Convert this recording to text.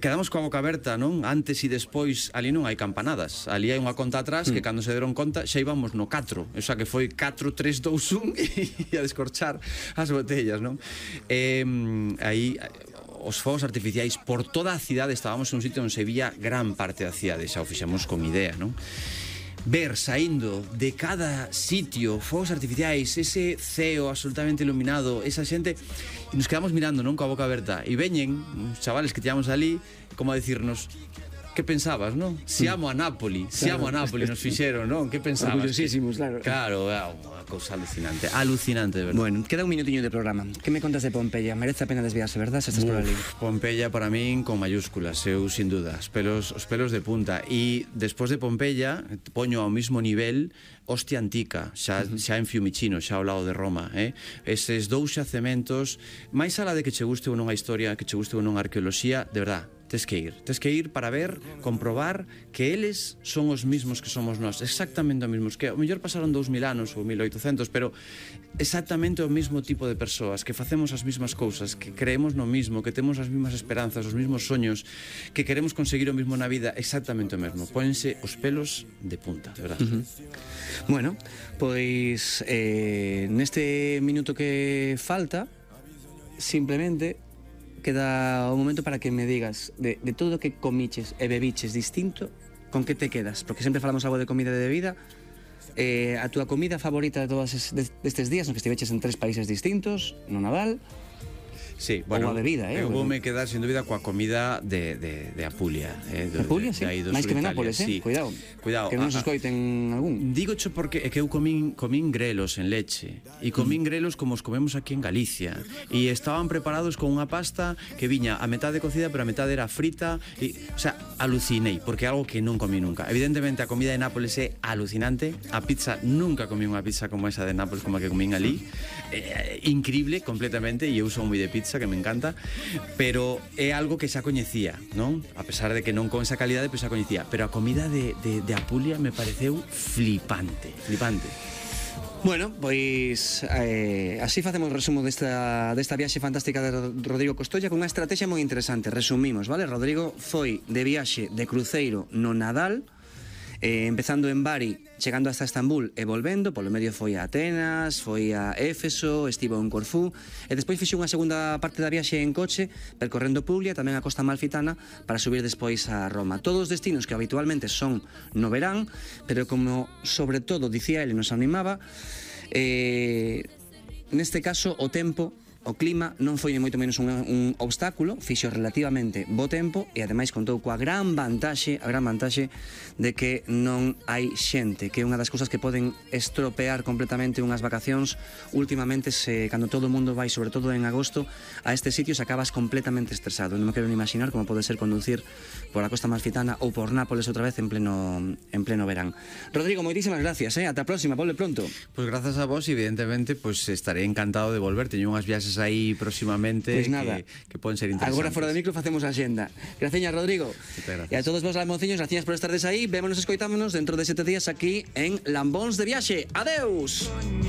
Quedamos coa boca aberta, non? Antes e despois, ali non hai campanadas. Ali hai unha conta atrás que cando se deron conta xa íbamos no 4. O sea que foi 4, 3, 2, 1 e a descorchar as botellas, non? Aí os fogos artificiais por toda a cidade, estábamos en un sitio onde se vía gran parte da cidade, xa o fixemos con idea, non? Ver saindo de cada sitio fogos artificiais, ese ceo absolutamente iluminado, esa xente, e nos quedamos mirando, non, coa boca aberta, e veñen uns chavales que tivamos ali como a decirnos: que pensabas, non? Se amo a Nápoli, se amo a Nápoli, nos fixeron, non? Que pensabas? Orgullosísimos, claro. Claro, é unha cousa alucinante, alucinante, de verdade. Bueno, queda un minutiño de programa. Que me contas de Pompeia? Merece a pena desviarse, verdad, se estás por ali? Pompeia para min con mayúsculas, eu sin duda, os pelos de punta. E despois de Pompeia poño ao mismo nivel Ostia Antica, xa en Fiumicino, xa ao lado de Roma, eses dous xacementos, máis alá de que che guste ou non a historia, que che guste ou non a arqueoloxía, de verdad, tes que ir para ver, comprobar que eles son os mismos que somos nós, exactamente os mismos, que ao mellor pasaron 2000 anos ou 1800, pero exactamente o mismo tipo de persoas, que facemos as mismas cousas, que creemos no mismo, que temos as mismas esperanzas, os mismos soños, que queremos conseguir o mismo na vida, exactamente o mesmo. Pónense os pelos de punta, de verdade. Bueno, pois neste minuto que falta, simplemente queda un momento para que me digas de todo o que comiches e bebiches distinto, con que te quedas? Porque sempre falamos algo de comida e de bebida. A túa comida favorita de todos estes días, no que estiveches en 3 países distintos, no Nadal? Sí, bueno, ou a bebida, eu voume quedar sin dúbida coa comida de Apulia, Apulia, sí, máis que de Nápoles, sí. Cuidado, que non nos escoiten algún. Dígocho porque é que eu comín grelos en leche, e comín grelos como os comemos aquí en Galicia, e estaban preparados con unha pasta que viña a metade cocida, pero a metade era frita, e, o sea, alucinei, porque é algo que non comí nunca. Evidentemente a comida de Nápoles é alucinante, a pizza, nunca comí unha pizza como esa de Nápoles, como a que comín ali, increíble completamente, e eu son moi de pizza, que me encanta, pero é algo que xa coñecía, non? A pesar de que non con esa calidade, pero xa coñecía, pero a comida de Apulia me pareceu flipante. Bueno, pois así facemos o resumo desta viaxe fantástica de Rodrigo Costolla, con unha estrategia moi interesante. Resumimos, vale? Rodrigo foi de viaxe de cruceiro no Nadal, empezando en Bari, chegando hasta Estambul e volvendo, polo medio foi a Atenas, foi a Éfeso, estivo en Corfú, e despois fixo unha segunda parte da viaxe en coche, percorrendo Puglia, tamén a Costa Amalfitana, para subir despois a Roma. Todos os destinos que habitualmente son no verán, pero como sobre todo, dicía ele, nos animaba, neste caso o tempo, o clima non foi ni moito menos un obstáculo, fixo relativamente bo tempo e ademais contou coa gran vantaxe de que non hai xente, que é unha das cousas que poden estropear completamente unhas vacacións. Últimamente, cando todo o mundo vai, sobre todo en agosto, a estes sitios acabas completamente estresado. Non me quero ni imaginar como pode ser conducir por a Costa Amalfitana ou por Nápoles outra vez en pleno verán. Rodrigo, moitísimas gracias, ata a próxima, volve pronto. Pois grazas a vos, evidentemente, estaré encantado de volver. Teño unhas viaxes aí próximamente que poden ser interesantes. Agora fora de micro facemos a xenda. Graciñas, Rodrigo. E a todos vos, lambonciños, graciñas por estardes aí. Vémonos e escoitámonos dentro de 7 días aquí en Lambóns de Viaxe. Adeus.